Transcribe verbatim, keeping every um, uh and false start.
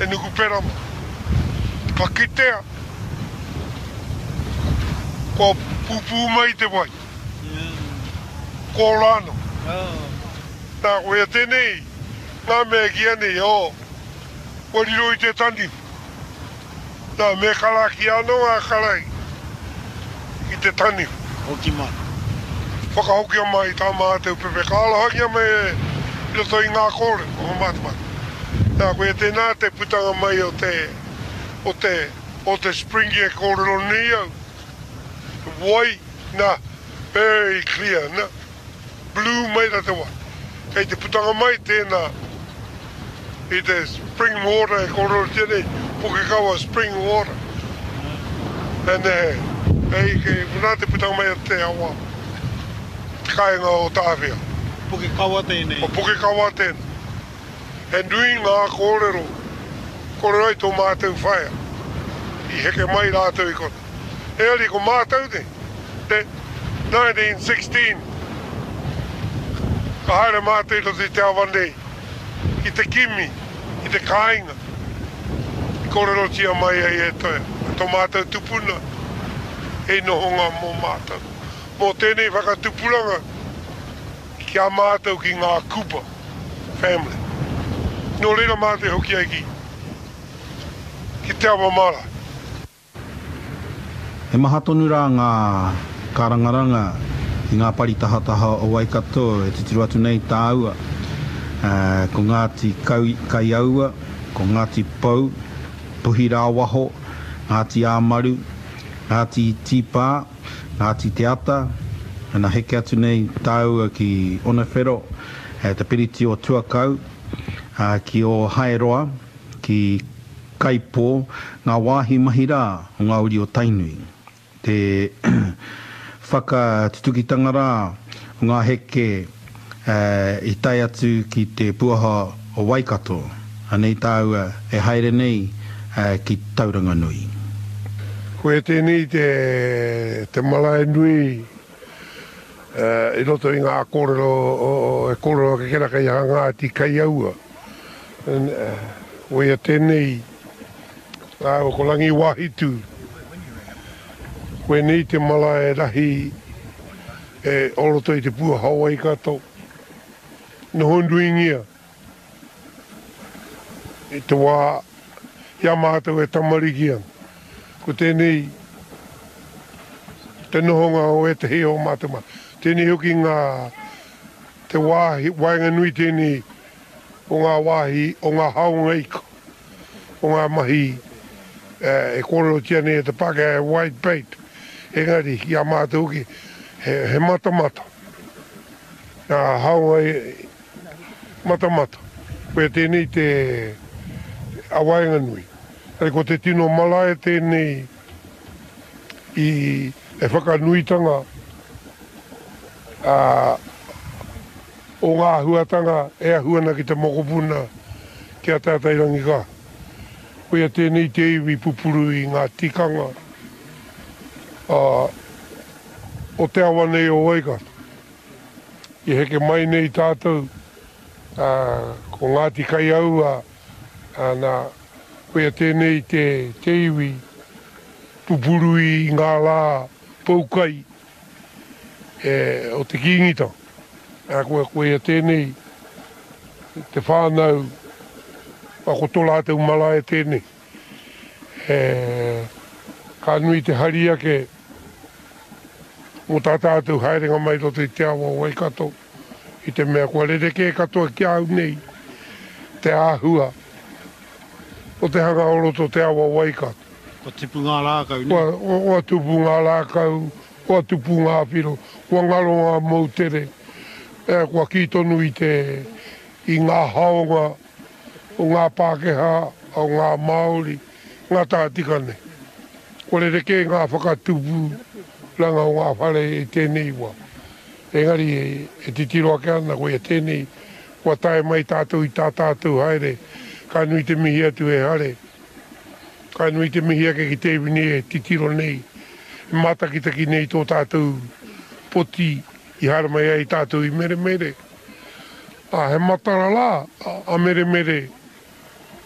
e Nukuperama. Ka kitea, kua pupū mai te wai. Ko rano. Nā, koia tēnei, ngā mea e kīia nei, oh, kua riro i te taniwha. Nā, me karakia anō ngā karaki ki te taniwha. Hoki mai. Whakahokia mai tā mātou pepe. Ka arohangia mai e i roto i ngā kōrero o Matamata. Nā, koia tēnā te putanga mai o te, o te, o te spring e kōrero nei au. Wai, nā, very clear, nā, blue mai rā te wai. Kei te putanga mai tēnā i te spring water e kōrerotia nei, Pukekawa spring water. And, eh, hei, kei konā te putanga mai o te awa, te kāinga o Tāwhia. Pukekawa tēnei. O Pukekawa tēnei. He nui ngā kōrero, kōrero ai tō mātou whaea. I heke mai rātou i konā. Engari ko mātou nei, te nineteen sixteen, ka haere mātou i roto i te awa nei, ki te kimi, i te kāinga, i kōrerotia mai ai e tō mātou tupuna, hei nohonga mō mātou. Mō tēnei whakatupuranga ki a mātou ki ngā Cooper family. Nō reira mātou e hoki ai ki, ki te awa marae. He maha tonu rā ngā kārangaranga i ngā pari tahataha o Waikato e titiro atu nei tāua. Ko Ngāti Kaiaua, ko Ngāti Pou, Puhirāwaho, Ngāti Āmaru, Ngāti Tīpā, Ngāti Te Ata, ana heke atu nei tāua ki Onewhero, te piriti o Tuakau, ki Ōhaeroa, ki Kaipō, ngā wāhi mahi rā o ngā uri o Tainui. Te whakatutukitanga rā o ngā heke i tae atu ki te puaha o Waikato, anei tāua e haere nei ki Tauranganui. Koia tēnei te, te marae nui i roto i ngā kōrero e kōrero ake kera kei a Ngāti Kaiaua. Koia tēnei rāua ko Rangiwāhitu. Koinei te marae rahi e o roto i te puaha o Waikato. Noho nuingia i te wā i a mātou e tamariki ana. Ko tēnei te nohonga o ētahi o mātou mā. Tēnei hoki ngā te wāhi waenganui tēnei o ngā wāhi o ngā haonga ika, o ngā mahi e kōrerotia nei e te Pākehā he white bait, engari ki a mātou hoki he, he matamata. Ngā haonga matamata. Koia tēnei te a waenganui. Engari ko te tino marae tēnei i e whakanuitanga a o ngā āhuatanga e ahu ana ki te mokopuna ki a Tātairangika. Koia tēnei te iwi pupuru i ngā tikanga a, o te awa nei o Waikato. I heke mai nei tātou, a, ko Ngāti Kaiaua, a, nā, koia tēnei te, te iwi pupuru i ngā rā poukai e, o te Kīngitanga. A, koia, koia tēnei te whānau, a, ko tō rātou marae tēnei. E, ka nui te hari ake mō tā tātou haerenga mai roto i te awa o Waikato, i te mea kua rerekē katoa ki a au nei te āhua o te hanga o roto te awa o Waikato. Kua tipu ngā rākau, nē? Kua, kua tupu ngā rākau, kua tupu ngā whiro, kua ngaro ngā moutere, e, kua kī tonu i te, i ngā haonga o ngā Pākehā, o ngā Māori, ngā tahatika nei. Kua rerekē ngā whakatupuranga o ngā whare i tēnei wā. Engari e, e titiro ake ana koia tēnei, kua tae mai tātou i tā tātou haere, ka nui te mihi atu e Hare. Ka nui te mihi ake ki te iwi nei e titiro nei, e mātakitaki nei tō tātou poti i haere mai ai tātou i Meremere. Ā, he matara rā a Meremere